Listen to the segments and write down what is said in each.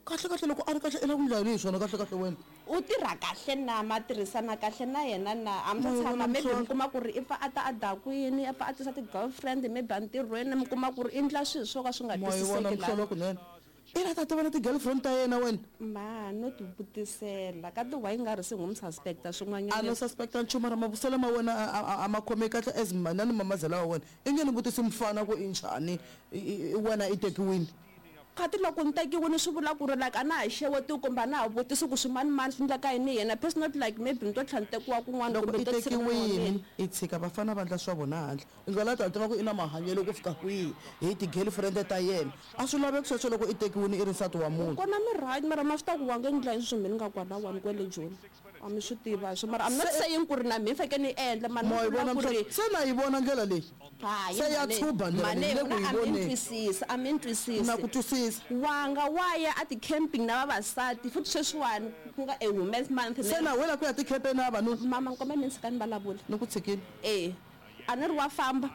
Kahle kahle loko a ri kahle i lava ku ndla yini hi swona kahle kahle wena? U tirha kahle na? Ma tirhisana kahle na yena na? A mi Ma se yi tshama vona maybe mi mihlolo. kuma ku ri i pfa a ta a dakwini, a pfa a tisa ti-girlfriend maybe entirhweni mi kuma ku ri i ndla swilo swo ka swi nga Ma yi vona twisiseki mihlolo lani. kunene. I la ta tiva na ti-girlfriend ta yena wena? Ma no ti vutisela ka ti why nga ri se n'wi mi suspect-a A swin'wanyana. no suspect-a nchumu mara mavuselo ma wena a a a ma khomeki kahle as manani mamazela wa wena. I nge ni vutisi mufana ku i njhani i i wena i tekiwini. Kati loko ni tekiwini swi vula ku ri like a na ha xewetiwi kumbe a na ha vutisi ku swimanimani swi ndleka yini hi yena it's not like maybe ni to tlhela ni tekiwa kun'wana Loko kumbe i ni to tshika nuna wa tekiwini mina. i tshika vafana va ndla swa vona handle i nga la ta tiva ku i na mahanyelo ku fika kwihi hi ti-girlfriend ta yena. A swi laveki sweswo loko i tekiwini i ri nsati wa munhu. Kona mi right mara ma swi tiva ku wa nge ndla yini sweswi me ni nga kwalawani kwele Joni a mi swi tiva swo mara I'm not Se saying ku ri na mehe ni fanekele ni endla mara ni Ma yi vula vona ku ri mhla se na yi vona ndlela leyi Hayi se ya mhani tshuba ndlela leyi mhani ni le ku n'wina yi a mi ni voneni. twisisi a mi ni Na twisisi ku twisisa. Wanga wa ya a ti-camping na vavasati futhi sweswiwani ku nga a women's month Se ne na wela ku ya ti-campeni na vavanuna. Mama ni kombela mi ni tshika ni vulavula. Ni ku tshikile. E a ni ri wa famba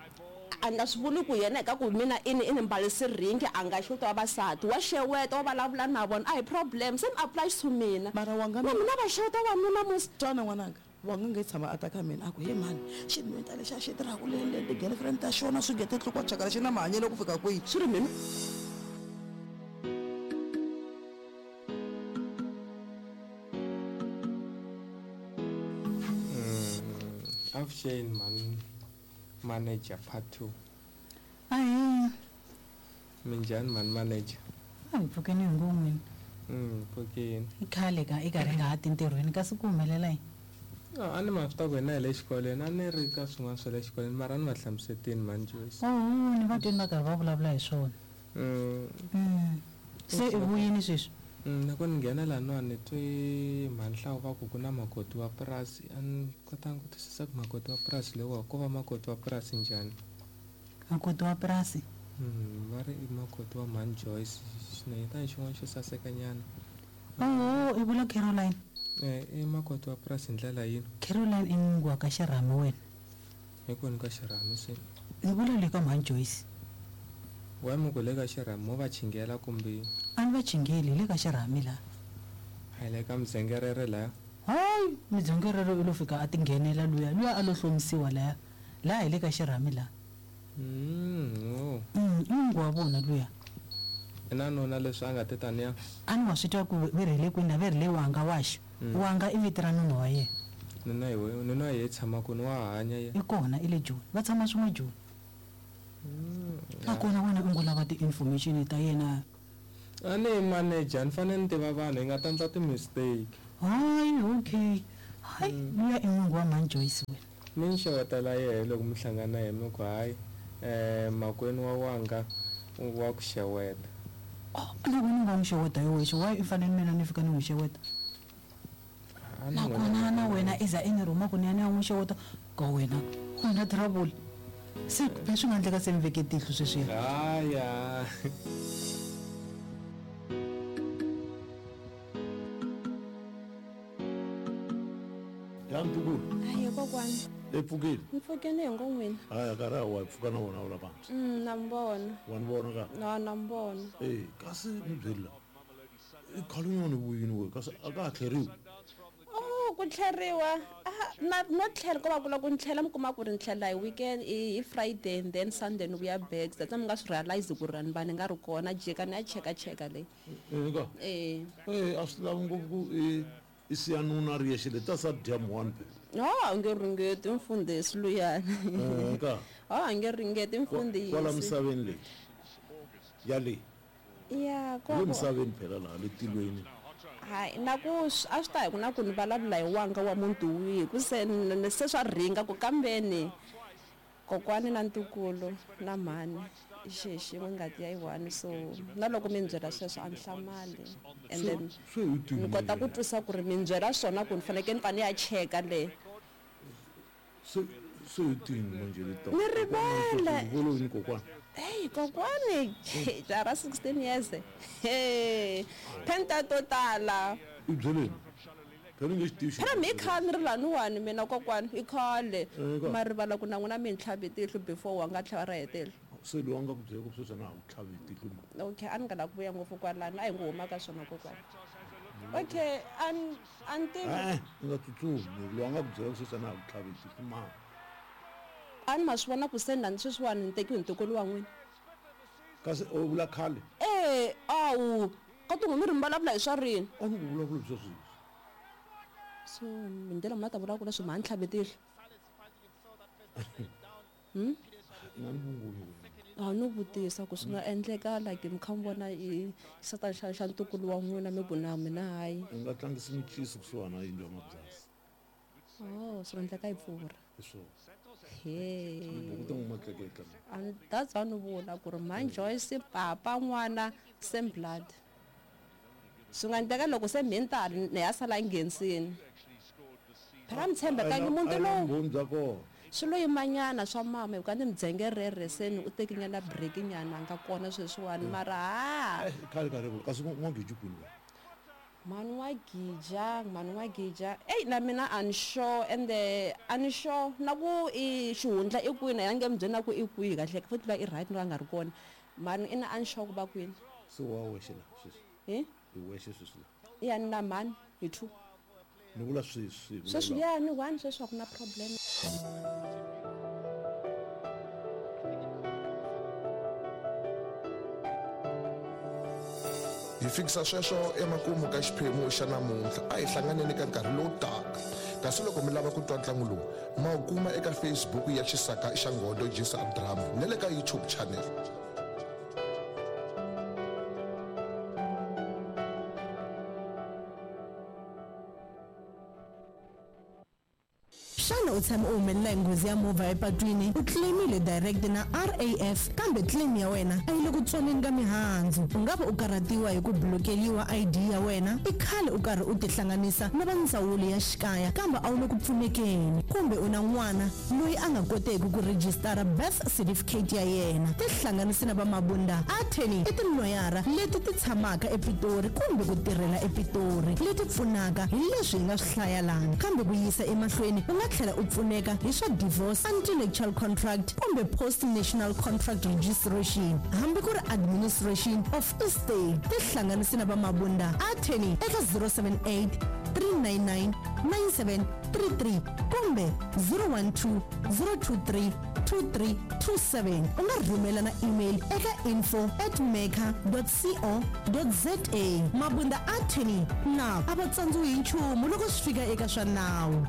a ni nga swi vuli ku yena hi ka ku mina i ni i ni mbarisi ringi a nga xeweti vavasati wa xeweta wa vulavula na vona a hi problem same applies to mina Mara wanga na mi mina va xeweta wanuna musi. Twana n'wananga. Wa nga nge tshama a ta ka mina a ku, He mhani, xinhwenta lexiya xi tirhaka le le ti-girlfriend ta xona swi nge ti tlukwa chakala xi na mahanyelo ku fika kwihi? Swi ri mina. Avuxeni mhani manager part 2. Ahee. Minjhani mhani manager? A hi pfukeni hi ngo n'wini. Pfukeni. I khale ka i karhi nga ha ti ntirhweni kasi ku humelela yini? No, a ni ma swi tiva ku hina hi le xikolweni a ni ri ka swin'wana swa le xikolweni mara a ni va hlamusetini mhani Joyce. Oho, ni va twini va karhi va vulavula hi swona. Se i vuyini sweswi? Loko ni nghena laniwani ni twe mhani Hlawu va ku ku na makoti wa purasi a ni kotanga ku twisisa ku makoti wa purasi lowa ko va makoti wa purasi njhani. Makoti wa purasi? Va ri i makoti wa mhani Joyce xinhwanyetana xin'wana xo saseka nyana. Oho, i vula Caroline? E, i makoti wa purasi hi ndlela yini? Caroline i n'wingi wa ka xirhami wena. Hi kwini ka xirhami se? Ni vula le ka mhani Joyce. Why mi ku le ka xirhami mo va chingela kumbe? A ni va chingeli, hi le ka xirhami la. A hi le ka mudzengerere laya? Hayi, mudzengerere u lo fika a tinghenela luya, luya a lo hlomisiwa laya. Laha hi le ka xirhami la. Oh. I n'wingi wa vona luya. I na nuna leswi a nga te taniya? A ni wa swi twa ku ve ri hi le kwini na ve ri le Wanga waxo. Wanga i vito ra nuna wa yena. Nuna hi we, nuna wa yehe i tshama kwini? Wa hanya ye? I kona, i le Joni. Va tshama swin'we Joni. Nakona wena u ngo lava ti-information ta yena. A ni yi manager, ni fanele ni tiva vanhu, hi nga ta ndla ti-mistake. Hayi, okay. Hayi, luya i n'wingi wa mhani Joyce wena. Mi ni xewetela yehe loko mi hlangana na yehe mi ku, Hayi, makwenu wa wanga wa ku xeweta. Oh, na wena u nga n'wi xeweta hi wexe, why i fanele mina ni fika ni n'wi xeweta? A ni n'wina Nakona na wena i za i ni rhuma ku ni ya ni ya n'wi xeweta, ka wena, wena trouble. Se phela swi nga endleka se mi veke tihlo sweswiya. Haya. Ya ntukulu. Hayi kokwani. E pfukile. Ni pfukile hi ngo n'wina. Haya karhi a wa pfuka na wona ula pansi. Na mi vona. Wa ni vona ka? Na na mi vona. Eh, kasi ni byeli la. I khale nyana vuyini we kasi a ka ha tlheriwi. Oh, ku tlheriwa. Ah, na no tlhela ko va ku loko ni tlhela mi kuma ku ri ni tlhela hi weekend hi Friday and then Sunday ni vuya back. That's why mi nga swi realize ku ri ni va ni nga ri kona jika ni ya cheka cheka leyi. Eh ka. Eh. Eh, a swi lavi ngopfu ku i i siya nuna ri yexe le ta sa dya muwani phela. No, a nge ringeti mfundhisi luyani. Eh ka. Oh, a nge ringeti mfundhisi. Kwala misaveni leyi. Ya le. Ya, Le ko. misaveni phela laha le tilweni. Hayi, na ku a swi ta hi ku na ku ni vulavula hi wanga wa muti wihi ku se se swa ringa ku kambeni kokwani na ntukulu na mhani i xi xin'we ngati ya yi one so na loko mi ni byela sweswo a ni hlamali and then Se hi ni kota ku twisa ku ri mi ni byela swona ku ni fanekele ni pfa ni ya cheka le. Se se hi tini manje le ta. Ni rivele. Volo yini kokwani? Hey kokwani jaha ra 16 years. Hey phenta to tala. I byeleni. Phela nge xi tivi Phela mi khale ni ri laniwani mina kokwani i khale Eh, ma rivala ku na n'wina mi ni tlhavi tihlo before wa nga tlhava ra hetela. Se loyi a nga ku byela ku sweswi a na ha ku tlhavi hi tihlo ma. Okay, a ni nga lavi ku vuya ngopfu kwalano, a hi ngo huma ka swona kokwani. Okay, a ni a ni tivi. E-e, u nga tsutsumi, loyi a nga ku byela ku sweswi a na ha ku tlhavi hi tihlo ma. A ni ma swi vona ku se na sweswiwani ni tekiwe hi ntukulu wa n'wina. Kasi u vula khale? E, awu, ka tin'we mi ri mi vulavula hi swa rini? A ni ku vulavula hi swa sweswi. So hi ndlela muni a ta vula ku leswi mhani tlhavi tihlo? I nga ni vungunyi wena. A no vutisa ku swi nga endleka like mi kha mi vona i xisatana xa xa ntukulu wa n'wina mi ku na mina hayi. U nga tlangisi minciso kusuhana na yindlu ya mabyasi. Oh, swi nga endleka yi pfurha. Hi swona. He. Tibuku ta n'wi matleketla. And that's why ni vula ku ri mhani Joyce papa n'wana same blood. Swi nga endleka loko se mhintali ni ya sala nghenisini. Phela mi tshembekangi muti lowu. Vumbhoni bya kona. Swi lo yimanyana swa mama hi ku a ni mi dzengerere se ni u tekinyana break nyana a nga kona sweswiwani mara ha. Eh, khale ka rivula kasi n'wagiji kwini wena? Mhani wa gija, mhani wa gija. Eyi na mina a ni sure ende a ni sure na ku i xihundla i kwini a nge mi byeli na ku i kwihi kahle futhi va i right no a nga ri kona. Mhani ina a ni sure ku va kwini. Se wa wexe la sweswi? Hi? I wexe sweswi la? Ya ni na mhani hi two. Ni vula sweswi. Sweswi ya ni one sweswi a ku na problem. Hi fikisa sweswo emakumu ka xiphemu xa namuntlha. A hi hlanganeni ka nkarhi lowu taka. Kasi loko mi lava ku twa ntlangu lowu, ma wu kuma eka Facebook ya Xisaka xa Nghodo Jisa Drama na le ka YouTube channel. Xana u tshame u humelela hi nghozi ya movha epatwini? U claim-ile direct na RAF kambe claim ya wena a yi le ku tswaleni ka mihandzu. U nga va u karhatiwa hi ku blokeliwa ID ya wena, i khale u karhi u tihlanganisa na va ndzawulo ya xikaya kambe a wu le ku pfunekeni, kumbe u na n'wana loyi a nga koteki ku rejistara birth certificate ya yena. Tihlanganise na va Mabunda Attorney i tiloyara leti ti tshamaka ePitori kumbe ku tirhela ePitori leti pfunaka hi leswi hi nga swi hlaya lana. Kambe ku yisa emahlweni u nga tlhela u pfuneka hi swa divorce, antenuptial contract kumbe post national contract registration hambi ku ri administration of estate. Tihlanganise na va Mabunda Attorney eka 078 399 9733 kumbe 012 023 2327. U nga rhumela na email eka info at mecca co za. Mabunda Attorney na a va tsandziwi hi nchumu loko swi fika eka swa nawu.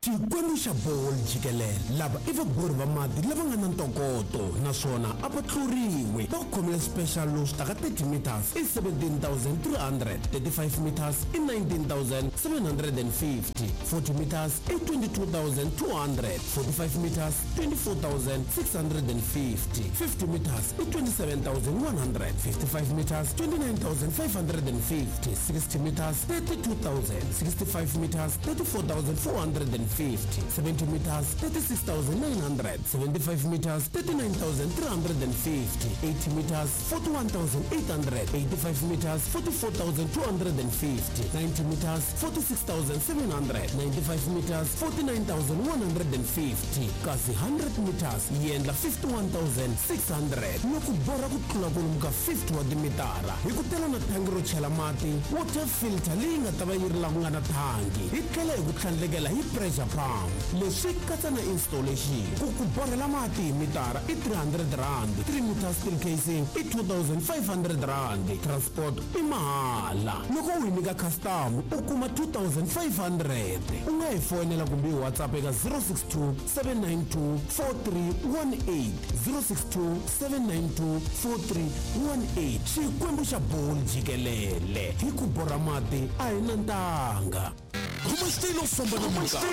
Xikwembu xa Ball jikelele lava i vabori va mati lava nga na ntokoto naswona a va tluriwi. Va khomile special lowu swi taka 30 meters i 17,300, 35 meters i 19,750, 40 meters i 22,200, 45 meters 24,650, 50 meters i 27,100, 55 meters 29,550, 60 meters 32,000, 65 meters 34,450, 70 meters 36,900, 75 meters 39,350, 80 meters 41,800, 85 meters 44,250, 90 meters 46,700, 95 meters 49,150, kasi 100 meters yi endla 51,600. Loko borha ku tlula kwalomu ka 50 wa timitara hi ku tela na thangi ro chela mati, water filter leyi nga ta va yi ri la ku nga na thangi, hi tlhela hi ku tlhandlekela hi pressure pump. Leswi katsa na installation. Ku ku borhela mati hi mitara i 300 rand, 3 meter steel casing i 2500 rand, transport i mahala. Loko u yi nyika customer u kuma 2500. U nga hi foyinela kumbe hi WhatsApp eka 062 792 4318, 062 792 4318. Xikwembu xa Ball jikelele, hi ku borha mati a hi na ntanga. Khoma xitayili u famba na minkarhi.